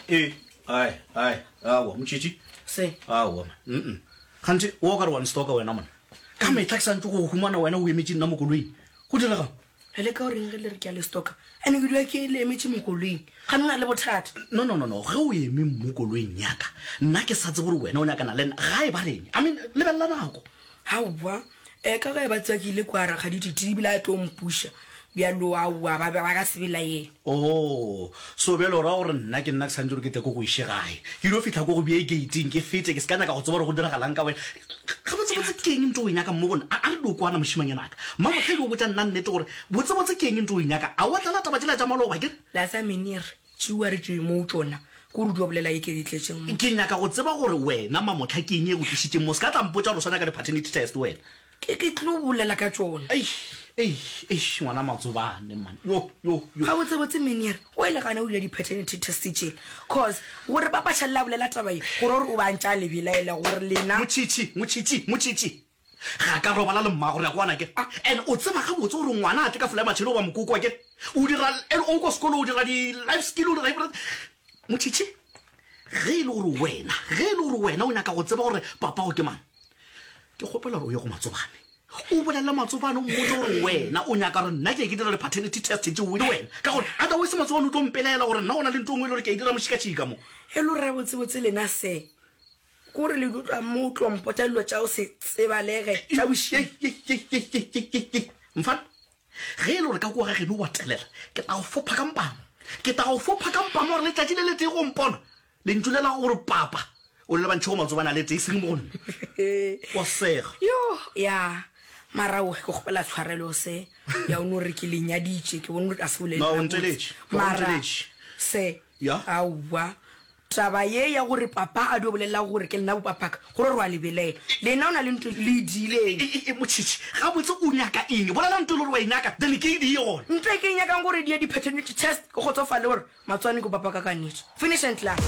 Ee, ai, ai, aowa, motšhitšhi. Se. Aowa, man. Mm-mm. Kganthe, o ka re wa nstoka wena, monna. Ka mehla ke sa ntše go go humana wena o emetše nna mo koloing. Go diregang? Le leka go reng ge le re ke a le stoka? Ene ke dula ke le emetše mo koloing. Gane o na le bothata? No, no, no, no. Ge o eme mo koloing ya ka, nna ke sa tsebe gore wena o nyakana le nna. Ga e ba reng? I mean, lebelela nako. Aowa, e ka ge ba tseba ke ile kua Rakgadi Titi ebile a tlo mpuša. Bjalo aowa, ba be ba ka se belaele. Oh, so bjale o ra gore nna ke nna ke swanetše gore ke tle ke go iše gae? Ke ilo fihla ko go bee gate-ing ke fete, ke se ka nyaka go tseba gore go diragalang ka wena. Gabotsebotse ke eng ntho o e nyakang mo go nna? A, a re dio kwana mošemanyana ka. Mmamohledi o botša nna nnete gore botsebotse ke eng ntho o e nyakang. A wa tlala taba tšela tša maloba, ke re? La sa menere, tšeua re tšwe mo tšona, ke gore o dio bolela ye ke e tletšeng mo. Ke nyaka go tseba gore wena Mamohla ke eng e go tlišitšeng mo. Se ka tla mpotša gore o sa nyaka di-paternity test wena. Ke, ke tlo bolela ka tšona. Eish, eish, eish, ngwana Matsobane, man. Yo, yo, yo. Gabotsebotse Meneer, o ile gana o dira di-paternity test tšela. Cause, gore Papa Tšhalle a bolela taba ye, go ra gore o be a ntše a le belaela gore lena. Motšhitšhi, motšhitšhi, motšhitšhi. Ga ka robala le mmago, re a kwana akere? And o tseba gabotse gore ngwana a tle ka folae matšhele goba mokoko akere? O dira, and o kwa sekolo o dira di-life skill, o dira everything. Motšhitšhi, ge e le gore wena, ge e le gore wena o nyaka go tseba gore papago ke mang, Ke kgopela gore o ye go Matsobane. O bolele Matsobane o mmotse gore wena o nyaka gore nna ke ye ke dira di-paternity test tšeo le wena. Ka gore otherwise Matsobane o tlo mpelaela gore nna go na le ntho e nngwe e le gore ke a e dira mošikatšika mo. E le gore gabotsebotse lena se ke gore le dutla mo o tlo mpotša dilo tša go se tsebalege tša bošego. Mfana, ge e le gore ka kua ga geno o a telela, ke tla go fopha ka mpama. Ke tla go fopha ka mpama gore letšatši le letee go mpona Lentšu le la gore papa o le lebantšhe go matsobana a le tee, e seng mo go nna. Wa sega. Yo, ya. Mara o, ke kgopela tshwarelo se. Ya o no re ke le nyaditše, ke bone gore a se bolele No, o nteletše. O Mara nteletše. se, Ya. aowa. Taba ye ya gore papa a dio bolela gore ke lena bopapaka, go re wa le belaela. Lena o na le ntho le e diileng. E, e, e, Motšhitšhi, gabotse o nyaka eng? Bolela ntho e le gore wa e nyaka, then ke e die gona. Ntho e ke e nyakang gore die di-paternity test, ke kgotsofale gore Matswane ke papa ka ka nnete. Finish and klaar.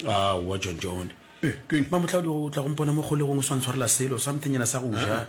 Aowa John John. Eh, keng? Mamohla o tla go mpona mo kgolegong o sa ntshwarela selo something nyana sa go ja.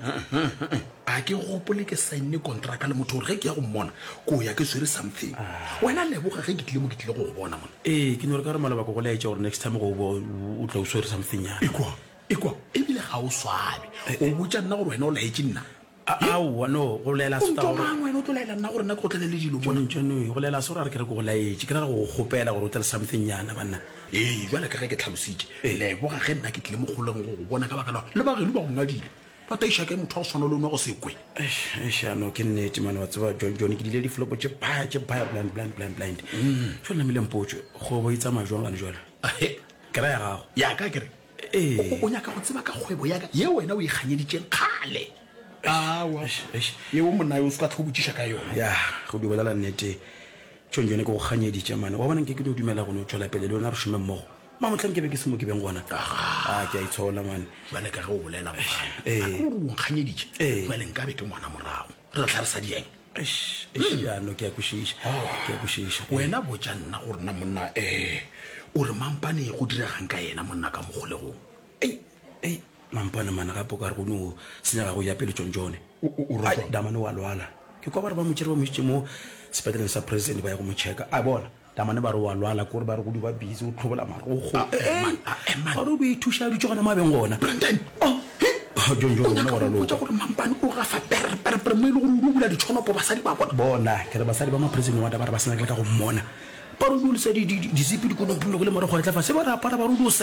A ke gopole ke saenne kontraka le motho gore ge ke ya go mmona ko ya ke swere something. Wena leboga ge ke tlile mo ke tlile go go bona mona. Ee, ke no re ka re maloba ke go laetša gore next time go bo o tla o swere something nyana. Ekwa, ekwa, ebile ga o swabe. O botša nna gore wena o laetše nna. Aowa, no, go laela se O ntwa mang wena o tlo laela nna gore nna ke go tlele le dilo mona? John, John, go laela se gore a re ke re ke go laetše, ke ra go go kgopela gore o tle le something nyana, banna. Ee, bjale ka ge ke tlhalositše, leboga ge nna ke tlile mo kgoleng go go bona ka baka la gore le bageno ba go ngadile. Ba taiša kae motho wa go swana le one wa go se kwe? Eish, eish, ya no, ke nnete mane, wa tseba, John, John, ke dile diflopo tše baya, tše baya, blind, blind, blind, blind. Jwale namile mpotše, kgwebo e tsamaya jwang gane jwale? Ahe. Ke ra ya gago. Ya ka ke re, Ee. o, o nyaka go tseba ka kgwebo ya ka ye wena o e kganyeditšeng kgale? Aowa, Eish, eish. yeo monna yo o se ka tlho botšiša ka yona. Ya, go di bolela nnete, John, John, ke go kganyeditše mane. Wa bona nke ke no dumela go no tšwela pele le wena re šome mmogo. Mamohla nke be ke se mo ke beng gona. Aga. A ke a itshola mane. Bjale ka ge o bolela mofana, Ee. a ke gore o nkganyeditše? Ee. Bjale nkabe ke ngwana morago. Re tla re sa dieng. Eish, eish, ya no ke a kwešiša. Ke a kwešiša. Wena botša nna gore na monna eh o re Mampane go diregang ka yena monna ka mo kgolegong? Ei, ei, Mampane mane gape o ka re go no senyega go ya pele tšontšone. O, o, o re Ai, jwang? Damane o a lwala. Ke kwa ba re ba mo tšere ba mo išitše mo sepetleleng sa president ba ya go mo checka. A bona. Damane ba re o a lwala, kore ba re go di ba busy, o tlhobola marokgo. A, eh, man, a, eh, man. Ba re o ithuša a dutše gona mo a beng gona. Brandon, Oh, he? Oh, John, John, O wena nyaka wa go mpotša raloka. gore Mampane o gafa pere, pere, pere mo e le gore o dio bula ditšhonopo basadi ba bona? Bona, ke re basadi ba ma-prison warder ba re ba sa nyake le ka go mmona. Ba re o dio lesa di, di, di, dizipi di konompilwe le marokgo a etla fase, ba re apara ba re o dio se.